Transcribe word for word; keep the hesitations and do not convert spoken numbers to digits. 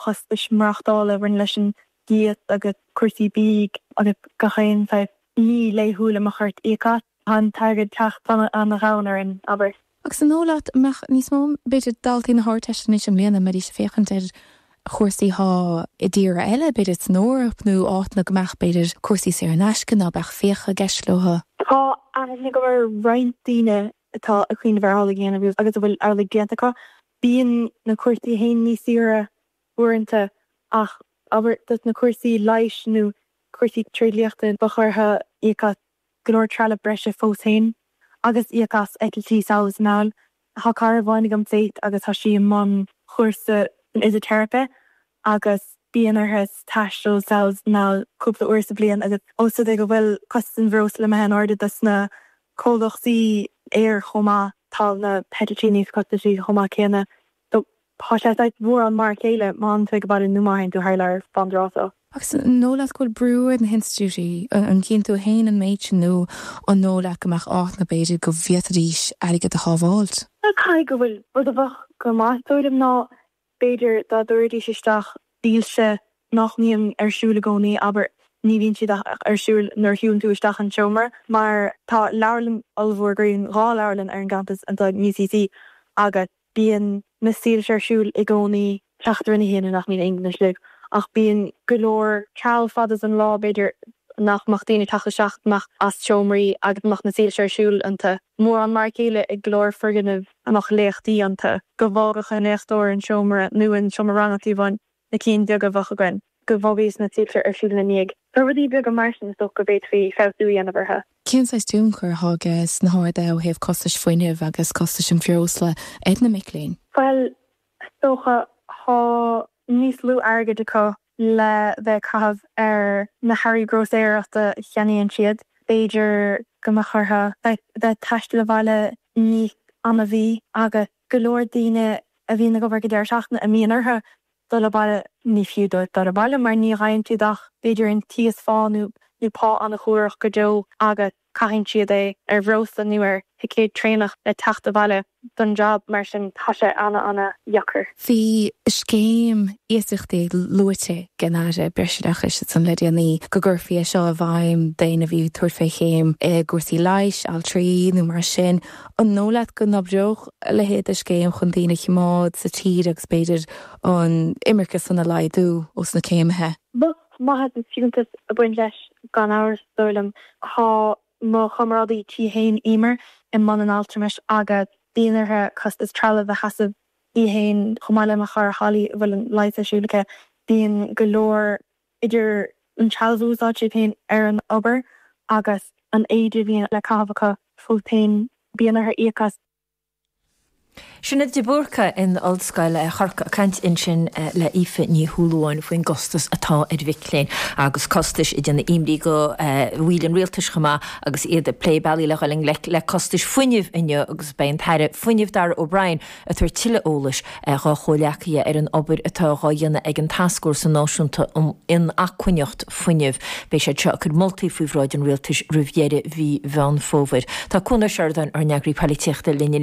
Costais maireachtála a bhaineann leis an gcíos agus cúrsaí bídh agus gach aon saghas ní laethúil a mbeadh ort íoc as. Tá an t-airgead ag teacht an-ghann orainn, abair. Agus an dóigh leat an mbeadh níos mó, b'fhéidir, daltaí na hArdteiste anois i mbliana, mbeidís ag féachaint ar chúrsaí thá i dtíortha eile, b'fhéidir san Eoraip nó áiteanna go mbeadh, b'fhéidir, cúrsaí saor in aisce ná beadh fiacha i gceist leo? Tá aithne agam ar roinnt daoine atá ag cuimhneamh ar amhlaidh a dhéanamh agus a bhfuil amhlaidh déanta acu. Bíonn na cúrsaí féin níos saoire uaireanta ach abair dos na cúrsaí leighis nó cúrsaí tréidliachta bheadh orthu íoc as go leor trealamh breise fós féin agus íoc as eitiltí sall is anall. Tá cara amháin agam Faith agus tá sí i mbun chúrsa san fhisiteiripe agus bíonn uirthi taisteal sall is anall cúpla uair sa bhliain agus ós rud é go bhfuil costas an bhreosla imithe in airde dos na comhlachtaí aeir chomh maith, tá na heitiltí níos costasaí chomh maith céanna. So tá sé saghas mórán mar a chéile má fhanann tú ag baile nó má théann tú thar lear fán dtráth seo. Agus an dóigh leat go bhfuil brú ar na hinstitiúidí, an gcíonn tú féin an méid sin nó an dóigh leat go mbeadh áiteanna b'fhéidir go bhféadfaidís airgead a shábháilt? Caithfidh go bhfuil. Rud a bheadh go maith is dóigh liom ná b'fhéidir dá dtabharfaidís isteach soilse nach mbíonn ar siúl i gcónaí, abair, ní bhíonn siad ach ar siúl nuair a shiúlann tú isteach an seomra, mar tá leabharlann ollmhór againn, dhá leabharlann ar an gcampas anseo in UCC agus bíonn na soilse ar siúl i gcónaí, teacht ar na haon nach mbíonn aon duine istigh, ach bíonn go leor seal fada den lá, b'fhéidir, nach mbeadh daoine ag teacht isteach amach as seomraí agus mbeadh na soilse ar siúl iontu. Mórán mar a chéile ag go leor foirgneamh a mbeadh léachtaí iontu, go bhfágfadh an léachtóir an seomra nó an seomra ranga fiú amháin, na cinn bheaga a bheadh againn, go bhfágfaidís na soilse ar siúl ina ndiaidh. Tá rudaí beaga mar sin is dócha go bhféadfaí feabhsú a dhéanamh orthu. Cén saghas tionchar atá aige na harduithe ó thaobh costais fuinnimh agus costais an bhreosla ar na mic léinn? Bhuel, is dócha, tá níos lú airgid acu le bheith ag caitheamh ar na hearraí grósaeireachta a cheannaíonn siad. B'fhéidir go mbeadh orthu bheith ag taisteal abhaile níos annamhaí agus go leor daoine a bhíonn ag obair go deireadh seachtaine a mbíonn orthu dul abhaile, ní fiú dóibh dul abhaile mar ní fhaigheann siad ach b'fhéidir an t-íosphá nó nó pá an-shuarach go deo agus caitheann siad é ar bhreosla nó ar thicéad traenach le teacht abhaile don jab, mar sin tá sé ana-ana-dheacair. Bhí scéim iasachtaí luaite ag an Aire Breisoideachais ansan le déanaí go gcuirfí é seo i bhfeidhm d'éinne a bhí ag tabhairt fé chéim i gcúrsaí leighis, altraí nó mar sin. An dóigh leat go n-oibreodh a leithéid de scéim chun daoine a choimeád sa tír agus b'fhéidir an imirce san a laghdú ós na céimithe? Bheadh maitheas is fiúntas ag baint leis gan amhras, is dóigh liom. Tá mo chomrádaí tí féin, Emer, i mbun an altramais agus bíonn uirthi costas trealaimh a sheasamh í féin chomh maith le mo chara Holly a bhfuil an leigheas ar siúl aici. Bíonn go leor idir an trealamh a úsáid siad féin ar an obair agus an éide a bhíonn le caitheamh acu fós féin, bíonn orthu íoc as. Sinéad de Búrca in Ollscoil Chorcaí ag caint ansin le Aoife Ní Shúilleabháin faoin gcostas atá ar mhic léinn agus costais ag déanamh imní do bhaill an rialtais chomh maith agus iad ag plé bealaí le dhul i ngleic le costais fuinnimh inniu agus beidh an tAire Fuinnimh Darragh O'Brien ag tabhairt tuilleadh eolais dá chomhleacaithe ar an obair atá dhá dhéanamh ag an Tascfhórsa Náisiúnta um Inacmhainneacht Fuinnimh. Beidh siad seo ag cur moltaí faoi bhráid an rialtais roimh dheireadh mhí Mheán Fómhair. Tá Cuan Ó Seireadáin, ár n-eagraí polaitíochta linn anois.